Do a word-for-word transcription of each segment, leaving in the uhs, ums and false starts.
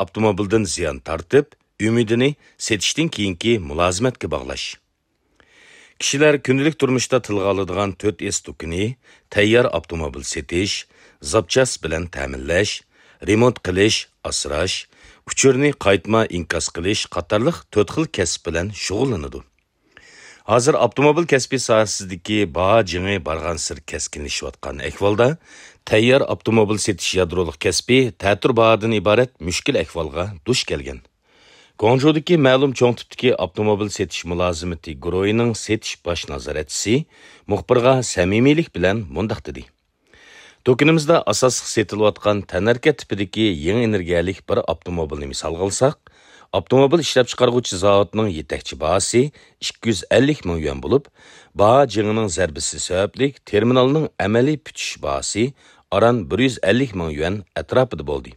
ئاپتوموبىلدىن زىيان تارتىپ، ئۈمىدىنى سېتىشتىن كېيىنكى مۇلازىمەتكە باغلاش. كىشىلەر كۈندىلىك تۇرمۇشتا تىلغا ئالىدىغان تۆت ئېس دۇكىنى تەييار ئاپتوموبىل سېتىش، زاپچاس بىلەن تەمىنلەش، رېمونت قىلىش، ئاسراش، ئۇچۇرنى قايتما ئىنكاس قىلىش قاتارلىق تۆت خىل كەسىپ بىلەن شۇغۇللىنىدۇ. ھازىر ئاپتوموبىل كەسپى ساھەسىدىكى باھا جېڭى بارغانسېرى كەسكىنلىشىۋاتقان ئەھۋالدا، تەييار ئاپتوموبىل سېتىش يادرولۇق كەسپى تەتۈر باھادىن ئىبارەت مۈشكۈل ئەھۋالغا دۇچ كەلگەن. گۇاڭجۇدىكى مەلۇم چوڭ تىپتىكى ئاپتوموبىل سېتىش مۇلازىمىتى گۇرۇھىنىڭ سېتىش باش نازارەتچىسى مۇخبىرغا سەمىمىيلىك بىلەن مۇنداق دېدى: دۇكىنىمىزدا ئاساسلىق سېتىلىۋاتقان تەنھەرىكەت تىپىدىكى يېڭى ئېنېرگىيەلىك بىر ئاپتوموبىلنى مىسالغا ئالساق، ئاپتوموبىل ئىشلەپچىقارغۇچى زاۋۇتنىڭ يېتەكچى باھاسى ئىككى يۈز ئەللىك مىڭ يۈەن بولۇپ، باھا جېڭىنىڭ زەربىسى سەۋەبلىك تېرمىنالنىڭ ئەمەلىي پۈتۈش باھاسى ئاران بىر يۈز ئەللىك مىڭ يۈەن ئەتراپىدا بولدى.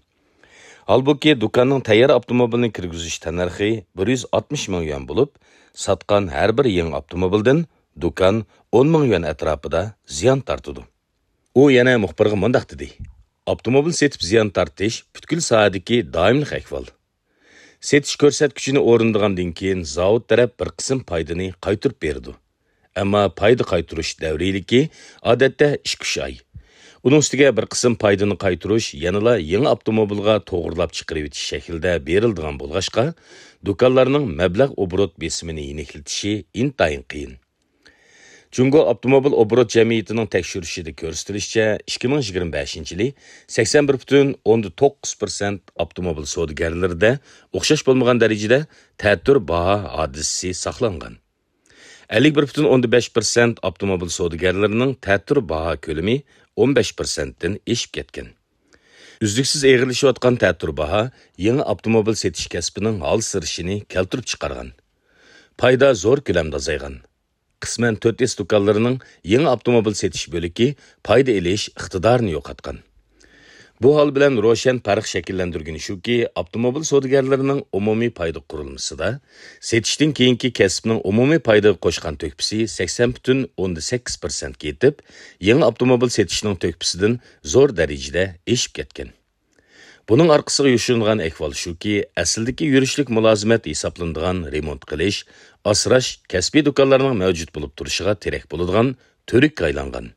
ھالبۇكى، دۇكاننىڭ تەييار ئاپتوموبىلنى كىرگۈزۈش تەننەرخى بىر يۈز ئاتمىش مىڭ يۈەن بولۇپ، ساتقان ھەر بىر يېڭى ئاپتوموبىلدىن دۇكان ئون مىڭ يۈەن ئەتراپىدا زىيان تارتىدۇ. ئۇ يەنە مۇخبىرغا مۇنداق دېدى: ئاپتوموبىل سېتىپ زىيان تارتىش پۈتكۈل ساھەدىكى دائىملىق ئەھۋال. سېتىش كۆرسەتكۈچىنى ئورۇندىغاندىن كېيىن، زاۋۇت تەرەپ بىر قىسىم پايدىنى قايتۇرۇپ بېرىدۇ. ئەمما پايدا قايتۇرۇش دەۋرىيلىكى، ئادەتتە، ئىككى-ئۈچ ئاي. ئۇنىڭ ئۈستىگە بىر قىسىم پايدىنى قايتۇرۇش يەنىلا يېڭى ئاپتوموبىلغا توغرىلاپ چىقىرىۋېتىش شەكلىدە بېرىلىدىغان بولغاچقا، دۇكانلارنىڭ مەبلەغ ئوبوروت بېسىمىنى يېنىكلىتىشى ئىنتايىن قىيىن. جۇڭگو ئاپتوموبىل ئوبوروت جەمئىيىتىنىڭ تەكشۈرۈشىدە كۆرسىتىلىشىچە، ئىككى مىڭ يىگىرمە بەشىنچى يىلى سەكسەن بىر پۈتۈن ئوندىن توققۇز پىرسەنت ئاپتوموبىل سودىگەرلىرىدە ئوخشاش بولمىغان دەرىجىدە تەتۈر باھا ھادىسىسى ساقلانغان. ئەللىك بىر پۈتۈن ئوندىن بەش پىرسەنت ئاپتوموبىل سودىگەرلىرىنىڭ تەتۈر باھا كۆلىمى ئون بەش پىرسەنتتىن ئېشىپ كەتكەن. ئۈزلۈكسىز ئېغىرلىشىۋاتقان تەتۈر باھا يېڭى ئاپتوموبىل سېتىش كەسپىنىڭ ھالسىرىشىنى كەلتۈرۈپ چىقارغان. پايدا زور كۆلەمدە ئازايغان. قىسمەن تۆت ئېس دۇكانلىرىنىڭ يېڭى ئاپتوموبىل سېتىش بۆلىكى پايدا ئېلىش ئىقتىدارىنى يوقاتقان. بۇ ھال بىلەن روشەن پەرق شەكىللەندۈرگىنى شۇكى، ئاپتوموبىل سودىگەرلىرىنىڭ ئومۇمىي پايدا قۇرۇلمىسىدا سېتىشتىن كېيىنكى كەسىپنىڭ ئومۇمىي پايدىغا قوشقان تۆھپىسى سەكسەن پۈتۈن ئوندىن سەككىز پىرسەنتكە يېتىپ، يېڭى ئاپتوموبىل سېتىشنىڭ تۆھپىسىدىن زور دەرىجىدە ئېشىپ كەتكەن. بۇنىڭ ئارقىسىغا يوشۇرۇنغان ئەھۋال شۇكى، ئەسلىدىكى يۈرۈشلۈك مۇلازىمەت ھېسابلىنىدىغان رېمونت قىلىش، ئاسراش كەسپىي دۇكانلارنىڭ مەۋجۇت بولۇپ تۇرۇشىغا تىرەك بولىدىغان تۈۋرۈككە ئايلانغان.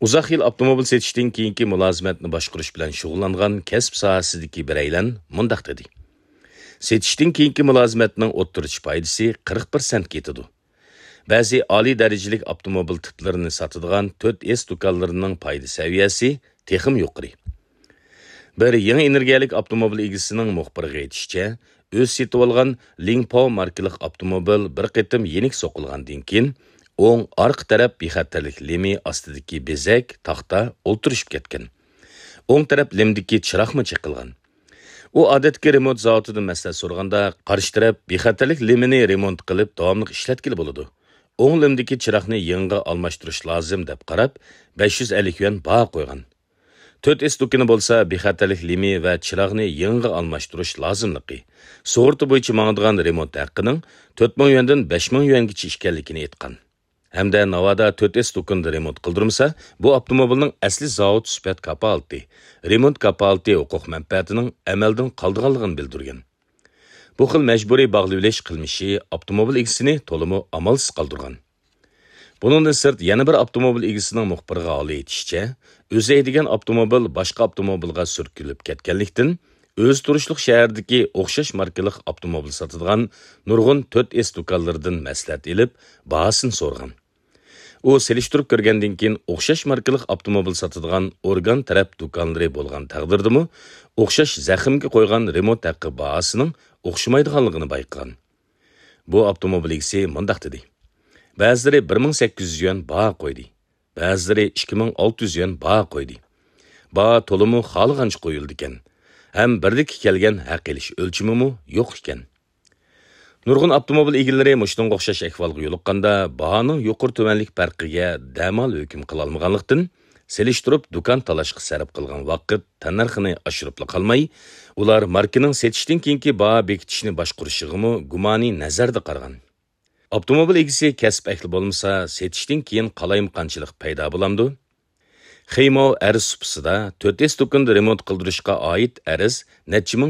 ئۇزاق يىل ئاپتوموبىل سېتىشتىن كېيىنكى مۇلازىمەتنى باشقۇرۇش بىلەن شۇغۇللانغان كەسىپ ساھەسىدىكى بىرەيلەن مۇنداق دېدى: سېتىشتىن كېيىنكى مۇلازىمەتنىڭ ئوتتۇرىچە پايدىسى قىرىق پىرسەنتكە يېتىدۇ. بەزى ئالىي دەرىجىلىك ئاپتوموبىل تىپلىرىنى ساتىدىغان تۆت ئېس دۇكانلىرىنىڭ پايدا سەۋىيەسى تېخىمۇ يۇقىرى. بىر يېڭى ئېنېرگىيەلىك ئاپتوموبىل ئىگىسىنىڭ مۇخبىرغا ئېيتىشىچە، ئۆزى سېتىۋالغان لىڭپاۋ ماركىلىق ئاپتوموبىل بىر قېتىم يېنىك سوقۇلغاندىن كېيىن، ئوڭ ئارقا تەرەپ بىخەتەرلىك لېمى ئاستىدىكى بېزەك تاختا ئولتۇرۇشۇپ كەتكەن. ئوڭ تەرەپ لېمدىكى چىراغمۇ چېقىلغان. ئۇ ئادەتتىكى رېمونت زاۋۇتىدىن مەسلىھەت سورىغاندا، قارشى تەرەپ بىخەتەرلىك لېمىنى رېمونت قىلىپ داۋاملىق ئىشلەتكىلى بولىدۇ. ئوڭ لېمدىكى چىراغنى يېڭىغا ئالماشتۇرۇش لازىم دەپ قاراپ، بەش يۈز ئەللىك يۈەن باھا قويغان. تۆت ئېس دۇكىنى بولسا بىخەتەرلىك لېمى ۋە چىراغنى يېڭىغا ئالماشتۇرۇش لازىملىقى، سۇغۇرتا بويىچە ماڭىدىغان رېمونت ھەققىنىڭ تۆت مىڭ يۈەندىن بەش مىڭ يۈەنگىچە ئىكەنلىكىنى ئېيتقان. ھەمدە ناۋادا تۆت ئېس دۇكىنىدا رېمونت قىلدۇرمىسا، بۇ ئاپتوموبىلنىڭ ئەسلى زاۋۇت سۈپەت كاپالىتى، رېمونت كاپالىتى ھوقۇق مەنپەئەتىنىڭ ئەمەلدىن قالىدىغانلىقىنى بىلدۈرگەن. بۇ خىل مەجبۇرىي باغلىۋېلىش قىلمىشى ئاپتوموبىل ئىگىسىنى تولىمۇ ئامالسىز قالدۇرغان. بۇنىڭدىن سىرت، يەنە بىر ئاپتوموبىل ئىگىسىنىڭ مۇخبىرغا ھالى ئېيتىشىچە، ئۆزى ھەيدىگەن ئاپتوموبىل باشقا ئاپتوموبىلغا سۈركىلىپ كەتكەنلىكتىن، ئۆزى تۇرۇشلۇق شەھەردىكى ئوخشاش ماركىلىق ئاپتوموبىل ساتىدىغان نۇرغۇن تۆت ئېس دۇكانلىرىدىن مەسلىھەت ئېلىپ، باھاسىنى سورىغان. ئۇ سېلىشتۇرۇپ كۆرگەندىن كېيىن، ئوخشاش ماركىلىق ئاپتوموبىل ساتىدىغان ئورگان تەرەپ دۇكانلىرى بولغان تەقدىردىمۇ، ئوخشاش زەخىمگە قويغان رېمونت ھەققى باھاسىنىڭ ئوخشىمايدىغانلىقىنى بايقىغان. بۇ ئاپتوموبىل ئىگىسى مۇنداق دېدى: بەزىلىرى بىر مىڭ سەككىز يۈز يۈەن باھا قويدى، بەزىلىرى ئىككى مىڭ ئالتە يۈز يۈەن باھا قويدى. باھا تولىمۇ خالىغانچە قويۇلىدىكەن ھەم بىردىكى كەلگەن ھەق ئېلىش ئۆلچىمىمۇ يوق ئىكەن. نۇرغۇن ئاپتوموبىل ئىگىلىرى مۇشۇنىڭغا ئوخشاش ئەھۋالغا يولۇققاندا، باھانىڭ يۇقىرى تۆۋەنلىك پەرقىگە دەمال ھۆكۈم قىلالمىغانلىقتىن، سېلىشتۇرۇپ دۇكان تالاشقا سەرپ قىلغان ۋاقىت تەننەرخىنى ئاشۇرۇپلا قالماي، ئۇلار ماركىنىڭ سېتىشتىن كېيىنكى باھا بېكىتىشنى باشقۇرۇشىغىمۇ گۇمانىي نەزەردە قارىغان. ئاپتوموبىل ئىگىسى كەسىپ ئەھلى بولمىسا، سېتىشتىن كېيىن قالايمىقانچىلىق پەيدا بولامدۇ؟ خېيمو ئەرز سۇپىسىدا تۆت ئېس دۇكىنىدا رېمونت قىلدۇرۇشقا ئائىت ئەرز نەچچە مىڭ